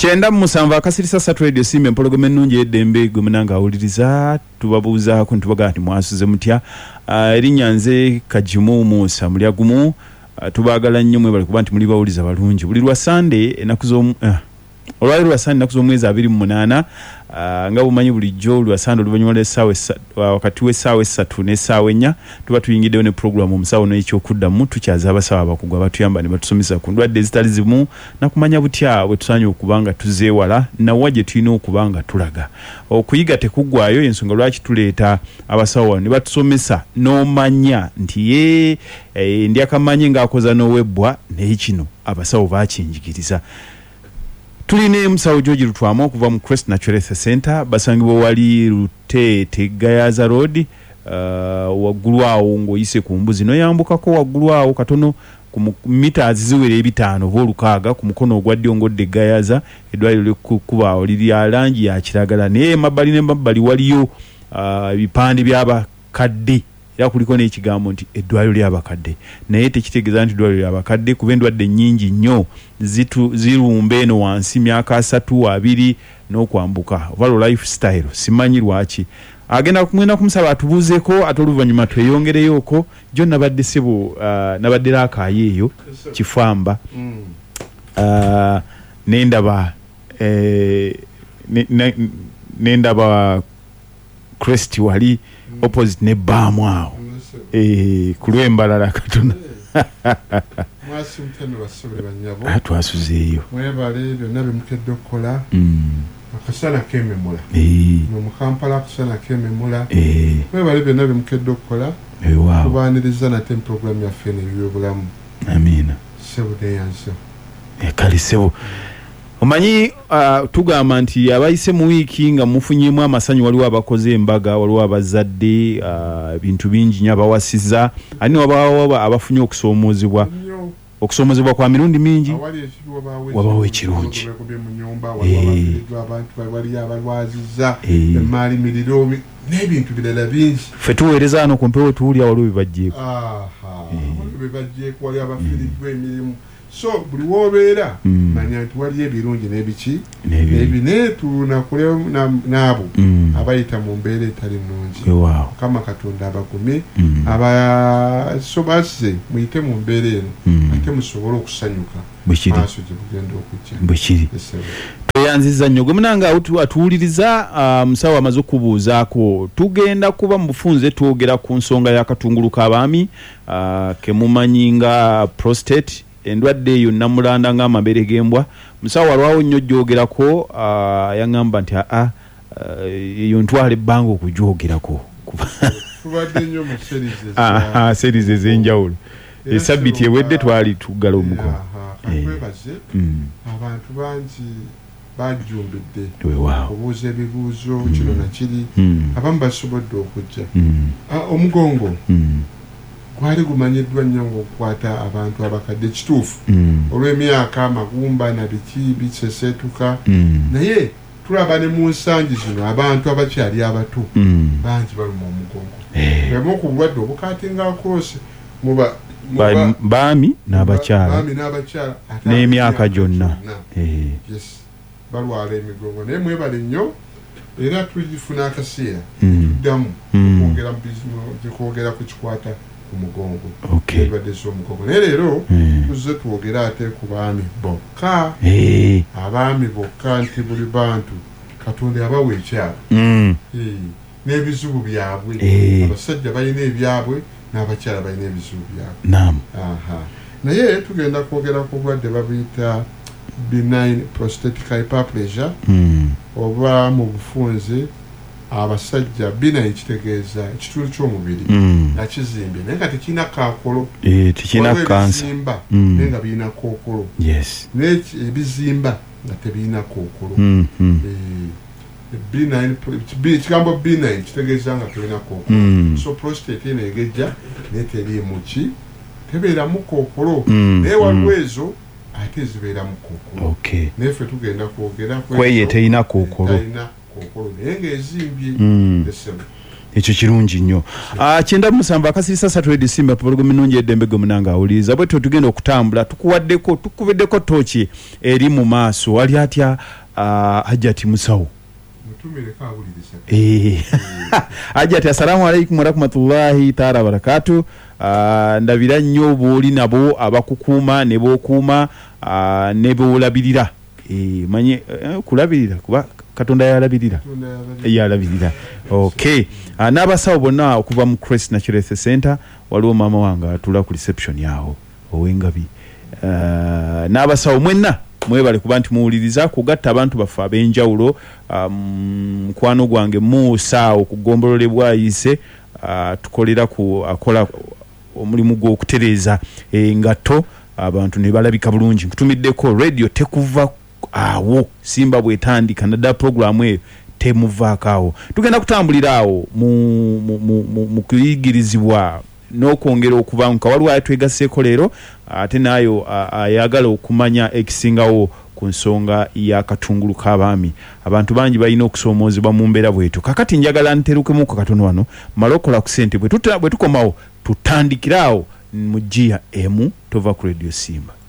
97.3 Radio Simba, empologoma ennungi ey'eddembe. Gwe munange awuliriza, tubabuuzaako ntubagamba nti mwasuze mutya? Erinnya nze Kagimu Musa Mulya Gumu. Tubaagala nnyo, mwebale kuba nti muli bawuliza balungi. Buli lwa Sande ennaku z'omu olwaleero lwa Sande ennaku z'omwezi 28. Nga bw'omanyi bulijjo lwa Sande oluvannyuma lw'essaawa wakati w'essaawa 3 n'essaawa 4 tuba tuyingiddeyo ne pulogulaamu Omusawo n'Ekyokuddamu. Tukyaza abasawo abakugu abatuyamba ne batusomesa ku ndwadde ezitali zimu nakumanya butya bwe tusaanye okuba nga tuzeewala na wa gye tulina okuba nga tulaga. Okuyiga tekuggwaayo, y'ensonga lwaki tuleeta abasawo wano ne batusomesa n'omanya nti yee ndya kamanye ng'akoza n'owebbwa, naye kino abasawo baakinjigiriza. Tuli ne Musawo George Lutwama okuva mu Crest Natural Health Centre. Basangibwa wali Luteete Gayaza Road, waggulu awo ng'oyise ku mbuzi n'oyambukako waggulu awo katono ku mita ziwera ebitaano oba olukaaga ku mukono ogwa ddyo ng'odda e Gayaza. Eddwaliro liri ku kkubo awo liri lya langi ya kiragala, naye emabbali n'emabbali waliyo ebipande by'abakadde era kuliko n'ekigambo nti eddwaliro ly'abakadde, naye tekitegeeza nti ddwaliro lya bakadde kuba endwadde nnyingi nnyo zirumba eno wansi myaka asatu, abiri n'okwambuka oba lwo life style simanyi lwaki. Agenda ngenda kumusaba atubuuzeeko ate oluvannyuma tweyongereyooko. Jjo nabadde ssebo nabadde Rakai eyo Kifamba nendaba nendaba Crest wali opposite ne bbaamu awo ku lw'e Mbarara katono. Mwasiimutya nno bassebo ne bannyabo. Twasuzeeyo. Mwebale byonna bye mukedde okukola. Akasana keememula. Muno mu Kampala akasana keememula. Mwebale byonna bye mukedde okukola. Tubaaniriza nate mu pulogulaamu yaffe eno ey'ebyobulamu. Amiina. Ssebo neeyanze. Kale ssebo. Omanyi tugamba nti abayise mu wiiki nga mufunyeemu amasanyu, waliwo abakoze embaga, waliwo abazadde, ebintu bingi nnyo, abawasizza, ate ne wabaawo abafunye okusoomoozebwa. Okusoomozebwa kwa mirundi mingi, Awali ekibi wabaawo wabaawo ekirungi. Ekirungi. Beekubye mu nnyumba, waliwo abafiiriddwa abantu baabwe, waliyo abalwazizza, emmaali miriro n'ebintu birala bingi. Ffe tuweereza wano ku mpewo tuwulira waliwo bye baggyeeko. Aha, waliwo bye baggyeeko, waliwo abafiiriddwa emirimu. So buli w'obeera manya nti waliyo ebirungi n'ebiki n'ebibi, naye tunakule n'abo abayita mu mbeera etali nnungi. Mukama Katonda abagumye, abasobazze muyite mu mbeera eno ate musobole okusanyuka maaso gye bugenda okujja. Bwekiri. Tweyanzizza nnyo gwe munange atuwuliriza. Musawo amaze okukubuuzaako, tugenda kuba mu bufunze twogera ku nsonga y'akatungulu k'abaami kemumanyi nga prostate, endwadde eyo nnamulanda ng'amabere g'embwa. Musawo alwawo nnyo ogyogerako, yaŋŋamba nti aa eyo ntwala ebbanga okugyogerako. Tubadde nnyo mu series eza series ez'enjawulo. Esabbiiti ewedde twali tuggala omuko. Katwebaze abantu bangi bajjumbidde okubuuza ebibuuzo kino na kiri, abamu basobodde okujja. Omugongo gwali gumanyiddwa nnyo ng'okukwata abantu abakadde, kituufu olw'emyaka, amagumba na biki biseseetuka, naye tulaba ne mu nsangi zino abantu abakyali abato bangi baluma omugongo. Bwemu ku bulwadde obukatinga across muba baami n'abakyala n'emyaka gyonna. Yes, balwala emigongo, naye mwebale nnyo era tugifuna akaseera tuddamu okwongera kwogera ku kikwata ku mugongo, endwadde z'omugongo. Naye leero tuzze twogere ate ku baami bokka, abaami bokka, nti buli bantu Katonda yabawa ekyabwe n'ebizibu byabwe. Abasajja balina ebyabwe n'abakyala balina ebizibu byabwe. Naye tugenda kwogera ku bulwadde babuyita benign prostatic hyperplasia, oba mu bufunze abasajja benign kitegeeza ekitundu ky'omubiri nga kizimbye naye nga tekirina kaakolo. Tekirina kansa. Ebizimba naye nga birina kookolo, naye ebizimba nga tebirina kookolo. Ekigambo benign kitegeeza nga tolina kookolo. So prostate eno egejja naye teriimu ki, tebeeramu kookolo, naye waliwo ezo ate ezibeeramu kookolo. Naye ffe tugenda kwogera kweyo eterina kookolo, etalina kookolo naye ng'ezimbye. Essebo. Ekyo kirungi nnyo. 97 akasirisa 3 Radio Simba pologomu ennungi ey'eddembe gwe munange awuliriza. Bwetyo tugenda okutambula tukuwaddeko tukubiddeko tooki eri mu maaso. Ali atya Hajjati musawo? Mutumireko awuliriza. Eh. Hajjati assalamu alaikum warahmatullahi taala wabarakatu. Ndabira nnyo b'oli nabo abakukuuma ne b'okuuma ne b'olabirira. Eh, manye kulabirira kuba Katonda y'alabirira. Y'alabirira. Okay. N'abasawo bonna okuva mu Christ Natural Health Center, waliwo maama wange atuula ku reception awo ow'engabi. N'abasawo mwenna mwebale kuba nti muwuliriza kugatta abantu baffe ab'enjawulo. Mukwano gwange Musa awo ku ggombolola e Bwayiise atukolera ku akola omulimu gw'okutereeza engatto abantu ne balabika bulungi. Nkutumiddeko radio tekuva awo Simba bw'etandika naddala pulogulaamu eyo temuvaako awo. Tugenda kutambulira awo mu kuyigirizibwa n'okwongera okubanguka. Waliwo ayatwegasseeko leero ate n'ayo ayagala okumanya ekisingawo ku nsonga y'akatungulu k'abaami. Abantu bangi balina okusoomoozebwa mu mbeera bw'etyo. Kaakati njagala nterukemuuku katono wano mmale okukola ku ssente bwe tukomawo tutandikire agho mu ggiya emu. Tova ku Radio Simba.